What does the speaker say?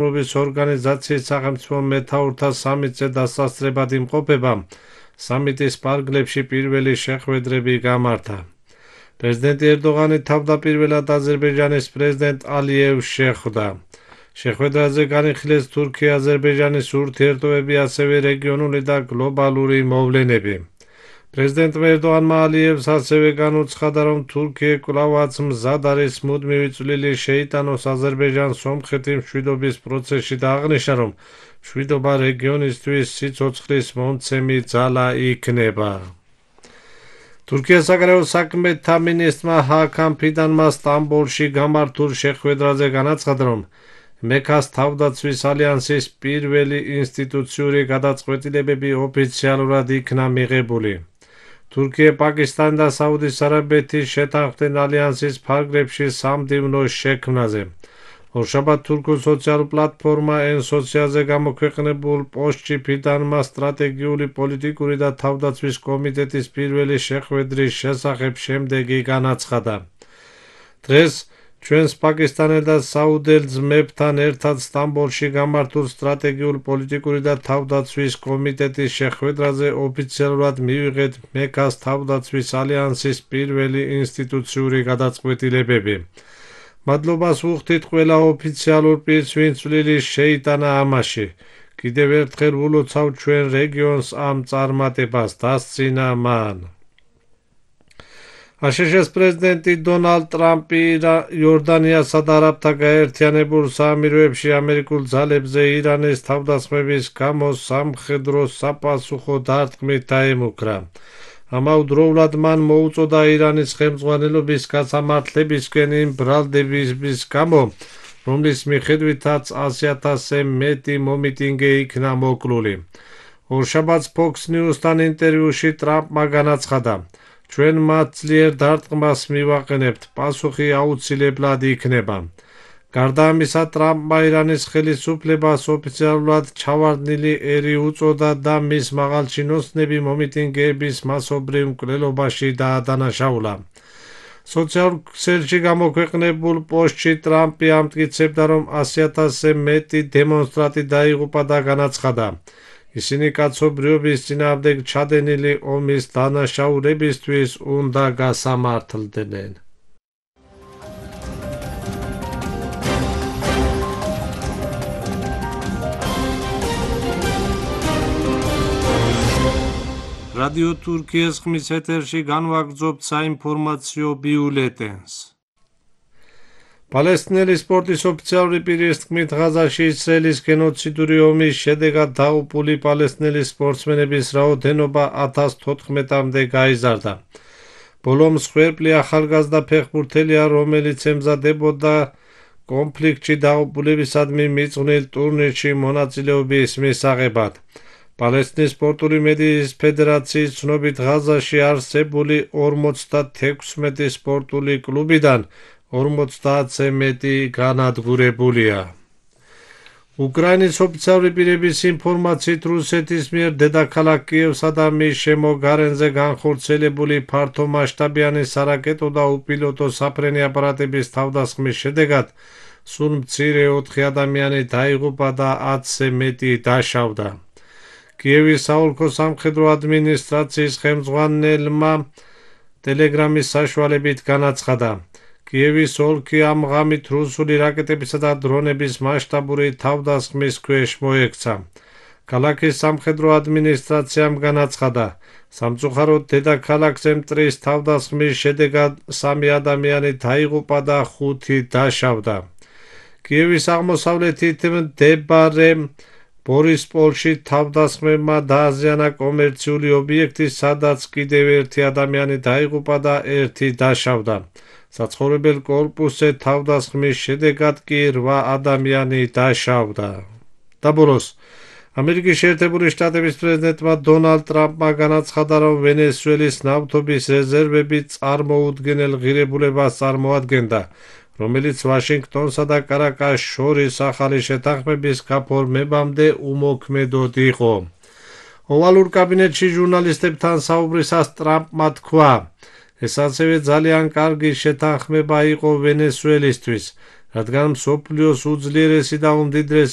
თანამშრომლობის ორგანიზაციის სახელმწიფო მეთაურთა სამიტზე დასასწრებად იმყოფება, სამიტის პარკლებში პირველი შეხვედრები გამართა. პრეზიდენტი ერდოღანი თავდაპირველად აზერბაიჯანის პრეზიდენტ ალიევს შეხვდა. შეხვედრაზე განიხილეს თურქია-აზერბაიჯანის ურთიერთობები, ასევე რეგიონული და გლობალური მოვლენები. პრეზიდენტ ერდოღანმა ალიევს ასევე განუცხადა, რომ თურქია კვლავაც მზად არის მუდმივი წვლილი შეიტანოს აზერბაიჯანს სომხეთი მშვიდობის პროცესში და აღნიშნა, რომ მშვიდობა რეგიონისთვის სიცოცხლის მომცემი ძალა იქნება. თურქიას საგარეო საქმეთა მინისტრმა ჰაკან ფიდანმა სტამბოლში გამართულ შეხვედრაზე განაცხადა, რომ მექას თავდაცვის ალიანსის პირველი ინსტიტუციური გადაწყვეტილებები ოფიციალურად იქნა მიღებული. თურქია, პაკისტანი და საუდის არაბეთის შეთანხმდნენ ალიანსის ფარგლებში სამდივნო შექმნაზე. ორშაბათ თურქულ სოციალურ პლატფორმა ენ-სოციალზე გამოქვეყნებულ პოსტში ფიდანმა სტრატეგიული, პოლიტიკური და თავდაცვის კომიტეტის პირველი შეხვედრის შესახებ შემდეგი განაცხადა. დღეს ჩვენს პაკისტანელ და საუდელ ძმებთან ერთად სტამბოლში გამართულ სტრატეგიული, პოლიტიკური და თავდაცვის კომიტეტის შეხვედრაზე ოფიციალურად მივიღეთ მექას თავდაცვის ალიანსის პირველი ინსტიტუციური გადაწყვეტილებები. მადლობას ვუხდით ყველა ოფიციალურ პირს, ვინც წვლილი შეიტანა ამაში. კიდევ ერთხელ ვილოცავ ჩვენ რეგიონს ამ წარმატებას, დასცინა მან. აშშ-ის პრეზიდენტი დონალდ ტრამპი იორდანიასა და არაბთა გაერთიანებულ საამიროებში ამერიკულ ძალებზე ირანის თავდასხმების გამო სამხედრო საპასუხო დარტყმით დაემუქრა. ამავდროულად მან მოუწოდა ირანის ხელმძღვანელობის გასამართლებისკენ იმ ბრალდების გამო, რომლის მიხედვითაც 100,000-ზე მეტი მომიტინგე იქნა მოკლული. ორშაბათს Fox News-თან ინტერვიუში ტრამპმა განაცხადა, ჩვენ მათ ძლიერ დარტყმას მივაყენებთ, პასუხი აუცილებლად იქნება. გარდა ამისა, ტრამპმა ირანის ხელისუფლებას ოფიციალურად ჩავარდნილი ერი უწოდა და მის მაღალჩინოსნები მომიტინგეების მასობრივ მკვლელობაში დაადანაშაულა. სოციალურ ქსელში გამოქვეყნებულ პოსტში ტრამპი ამტკიცებდა, რომ 100,000-ზე მეტი დემონსტრანტი დაიღუპა და განაცხადა, ისინი კაცობრიობის წინააღმდეგ ჩადენილი ომის დანაშაულებისთვის უნდა გასამართლდნენ. რადიო თურქიის ხმის ეთერში განვაგრძობთ საინფორმაციო ბიულეტენს. პალესტინელი სპორტის ოფიციალური პირის თქმით, ღაზაში ისრაელის გენოციდური ომის შედეგად დაღუპული პალესტინელი სპორტსმენების რაოდენობა 1014-მდე გაიზარდა. ბოლო მსხვერპლი ახალგაზრდა ფეხბურთელია, რომელიც ემზადებოდა კონფლიქტში დაღუპულებისადმი მიძღვნილ ტურნირში მონაწილეობის მისაღებად. პალესტინის სპორტული მედიის ფედერაციის ცნობით, ღაზაში არსებული 56 სპორტული კლუბიდან 50-ზე მეტი განადგურებულია. უკრაინის ოფიციალური პირების ინფორმაციით, რუსეთის მიერ დედაქალაქ კიევსა და მის შემოგარენზე განხორციელებული ფართომასშტაბიანი სარაკეტო და უპილოტო საფრენი აპარატების თავდასხმის შედეგად სულ მცირე 4 ადამიანი დაიღუპა და 10-ზე მეტი დაშავდა. კიევის საოლქო სამხედრო ადმინისტრაციის ხელმძღვანელმა ტელეგრამის საშუალებით განაცხადა, კიევის ოლქი ამ ღამით რუსული რაკეტებისა და დრონების მასშტაბური თავდასხმის ქვეშ მოექცა. ქალაქის სამხედრო ადმინისტრაციამ განაცხადა, სამწუხაროდ დედაქალაქზე მტრის თავდასხმის შედეგად 3 ადამიანი დაიღუპა და 5 დაშავდა. კიევის აღმოსავლეთით მდებარე ბორისპოლში თავდასხმებმა დააზიანა კომერციული ობიექტი, სადაც კიდევ 1 ადამიანი დაიღუპა და 1 დაშავდა. საცხოვრებელ კორპუსზე თავდასხმის შედეგად კი 8 ადამიანი დაშავდა. და ბოლოს, ამერიკის შეერთებული შტატების პრეზიდენტმა დონალდ ტრამპმა განაცხადა, რომ ვენესუელის ნავთობის რეზერვები წარმოუდგენელ ღირებულებას წარმოადგენდა, რომელიც ვაშინგტონსა და კარაკას შორის ახალი შეთანხმების გაფორმებამდე უმოქმედოდ იყო. ოვალურ კაბინეტში ჟურნალისტებთან საუბრისას ტრამპმა თქვა, ეს ასევე ძალიან კარგი შეთანხმება იყო ვენესუელისთვის, რადგან მსოფლიოს უძლიერესი და უმდიდრესი